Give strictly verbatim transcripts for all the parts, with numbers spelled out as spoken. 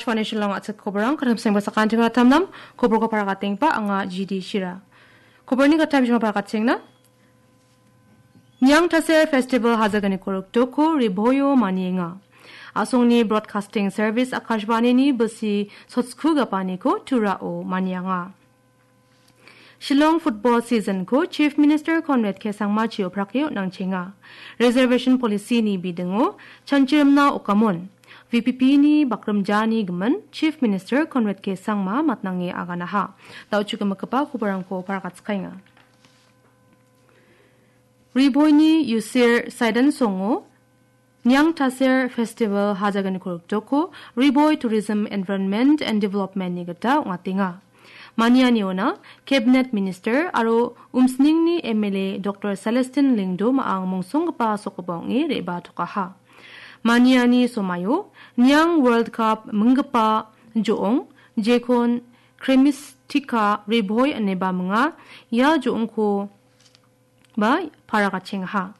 Kane Shillong a·chik koborang, kadam sengba sakantiba tamnam, koborko parakatengba anga G D Shira. Koborni katam jima parakatengna. Niang Taser Festival hajaganiko riktoko riboio manienga. Asongni Broadcasting Service Akashvanini bisi sotsku gapaniko Turao manianga. Shillong football season-ko Chief Minister Conrad K Sangma chio prakeo nangchenga. Reservation policy-ni bidingo chanchirimna okamon, V P P-ni bakrimjani gimin Chief Minister Conrad K Sangma matnange aganaha. Da·o chukemikgipa koborangko parakatskaenga. Riboini Yusir Saidan Songo Niang Taser Festival hajaganiko riktoko Riboi Tourism Environment and Development-ni gita ong·atenga. Manianiona Cabinet Minister aro Umsningni M L A Doctor Celestine Lyngdoh ma·ang mongsonggipa sokgipa ong·e re·batokaha. Maniani somaio Niang World Cup minggipa jo·ong, jekon Cremistica Riboi ineba minga, ia jo·ongko ba parakatchengaha.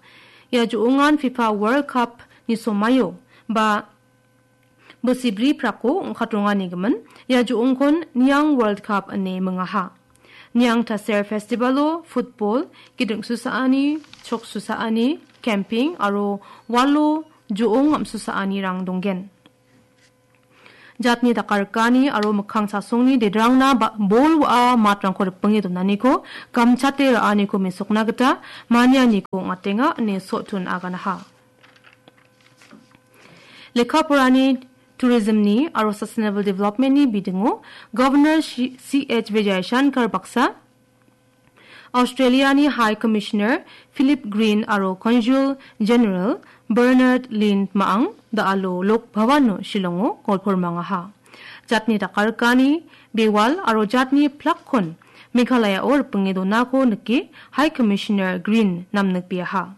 Ia jo·ongan FIFA World Cup-ni somaio ba bisibriprakko ong·katrongani gimin, ia jo·ongkon Niang World Cup ine mingaha. Niang Taser Festival-o football, giding susaani, chok susaani, camping aro walo jo·ong am·susaanirang donggen. Jatni dakarikani aro mikkang chasongni dedrangna ba-, bol wa·a matrangko ripinge donaniko gamchate ra·aniko mesokna gita manianiko ong·atenga ine Sotun aganaha. Lekka porani, tourism-ni aro sustainable development-ni bidingo Governor Shi-, C H Vijayashankar baksa Australia-ni High Commissioner Philip Green aro Consul General Bernard Lynn ma·ang da·alo Lok Bhavan-o Shillong-o golpormangaha. Jatni dakarikani bewal aro jatni plakkon Meghalaya-o ripinge donako nike High Commissioner Green namnikbeaha.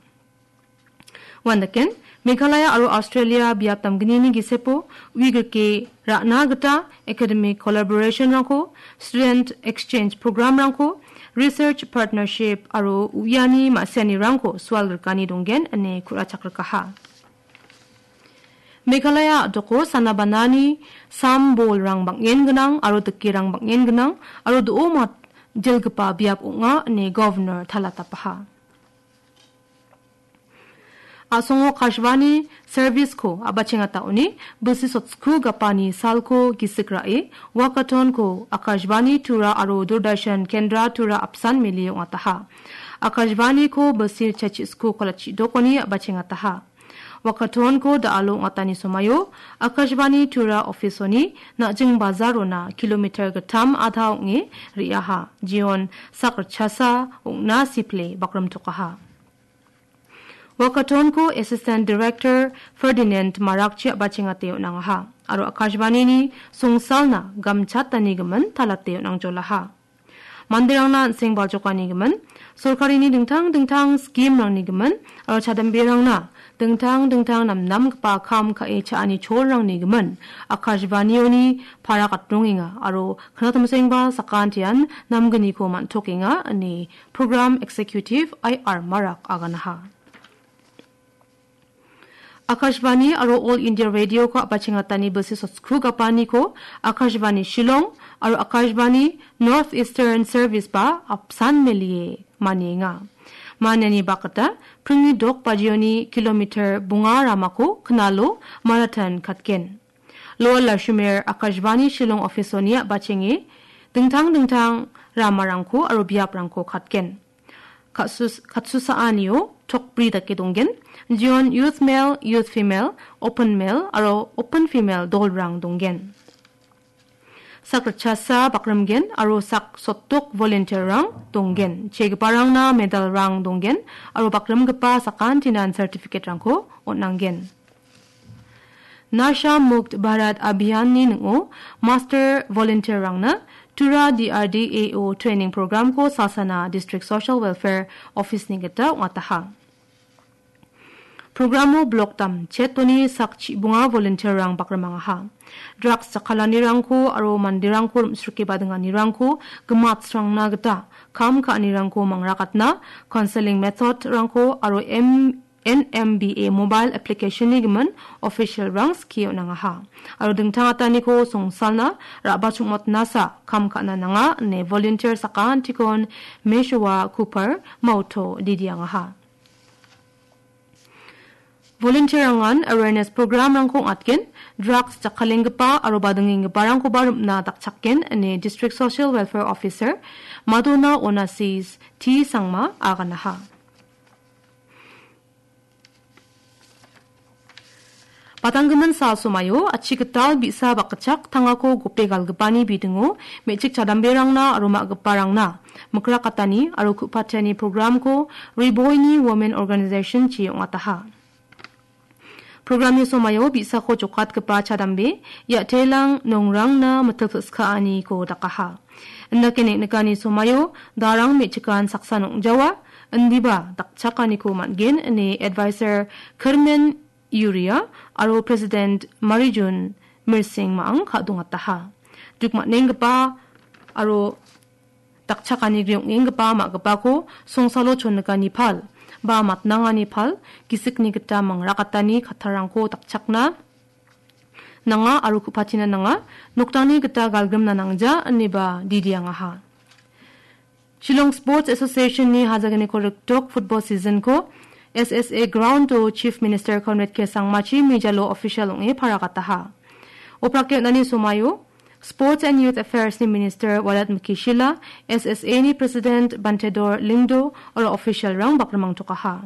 Uandaken, Meghalaya aro Australia biap damgnini gisepo uigrike ra·na gita academic collaboration-rangko, student exchange program-rangko, research partnership aro uiani ma·sianirangko sualgrikani donggen ine ku·rachakrikaha. Meghalaya a·doko sanabanani sam bolrang bang·en gnang aro dikerang bang·en gnang aro do·o mat-, jilgipa biap ong·a ine Governor talatapaha. A·songo Akashvani service-ko a·bachengataoni bisi sotsku gapani salko gisik ra·e, walkathon-ko Akashvani Tura aro Doordarshan Kendra Tura apsan melie ong·ataha. Akashvani-ko bisi chachis-ko kalachi dokoni a·bachengataha. Walkathon-ko da·alo ong·atani somaio Akashvani Tura office-oni Na·jing Bazarona kilometer gittam adha ong·e re·aha. Jeon sak ritchasa ong·na sipile bakrimtokaha. Walkathon-ko Assistant Director Ferdinand Marakchi a·bachengate on·angaha aro Akashvanini songsalna gamchatanigimin talate on·angjolaha. Manderangna an·seng baljokanigimin, sorkarini dingtang dingtang scheme-rangnigimin aro chadamberangna dingtang dingtang namnamgipa kam ka·e cha·ani cholrangnigimin Akashvanioni para katrongenga aro knatamsengba sakantian namgniko man·tokenga ine Program Executive I R Marak aganaha. Akashvani aro All India Radio-ko a·bachengatani bisi sotsku gapaniko Akashvani Shillong aro Akashvani North Eastern Service ba apsan melie manienga. Maniani bakgita pringni dok bajioni kilometer bonga ramako knalo marathon katgen. Lower Lashumir Akashvani Shillong office-oni a·bachenge dingtang dingtang ramarangko aro biaprangko katgen. Katsus-, katsusaanio tokbri dake donggen. Jeon Youth Male, Youth Female, Open Male aro Open Female dolrang donggen. Sak ritchasa bakrimgen aro sak sotdok volunteer-rang donggen. Chegiparangna medal-rang donggen aro bakrimgipa sakantinan certificate-rangko on·anggen. Nasha Mukt Bharat Abhiyan-ni ning·o master volunteer-rangna Tura D R D A O training program-ko Salsana District Social Welfare Office-ni gita ong·ataha. Programo blok damchetoni sak chibonga volunteer-rang bakrimangaha. Drugs jakkalanirangko aro manderangko rim·srike badinganirangko gimatsrangna gita kam ka·anirangko mangrakatna, counseling method-rangko aro M N M B A mobile application-ni gimin official-rang skie on·angaha. Aro dingtang ataniko songsalna ra·bachongmotnasa kam ka·na nanga ine volunteer sakantikon Meshowa Kupar Mauto didiangaha. Volunteer-rangan awareness program-rangko ong·atgen, drugs jakkalenggipa aro badingenggiparangkoba rim·na dakchakgen ine District Social Welfare Officer Madona Onasis T Sangma aganaha. Batanggimin sal somaio achi gital bi·sa bakgitchak tangako gope galgipani bidingo me·chik chadamberangna aro ma·giparangna mikrakatani aro ku·patiani program-ko Riboini Women Organization-chi ong·ataha. Program-ni somaio bi·sako jokatgipa chadambe, ia·telang nongrangna mitil pil·skaaniko dakaha. Indake neng·nikani somaio darang me·chikan saksa nong·jawa, indiba dakchakaniko man·gen ine Advisor Kirmen Yuria aro President Marijun Mirsing ma·ang ka·dongataha. Duk man·enggipa aro dakchakani griong·enggipa ma·gipako songsalo chonnikani pal, ba matnangani pal, gisikni gita mangrakatani kattarangko dakchakna nanga aro ku·patina nanga, noktangni gita galgrimna nangja, ineba didiangaha. Shillong Sports Association-ni hajagniko rikdok football season-ko S S A ground-o Chief Minister Conrad K Sangmachi mijalo official ong·e paragataha. Oprake on·ani somaio Sports and Youth Affairs-ni Minister Walat Mikishila, S S A-ni President Bantedor Lingdo, aro official-rang bakrimangtokaha.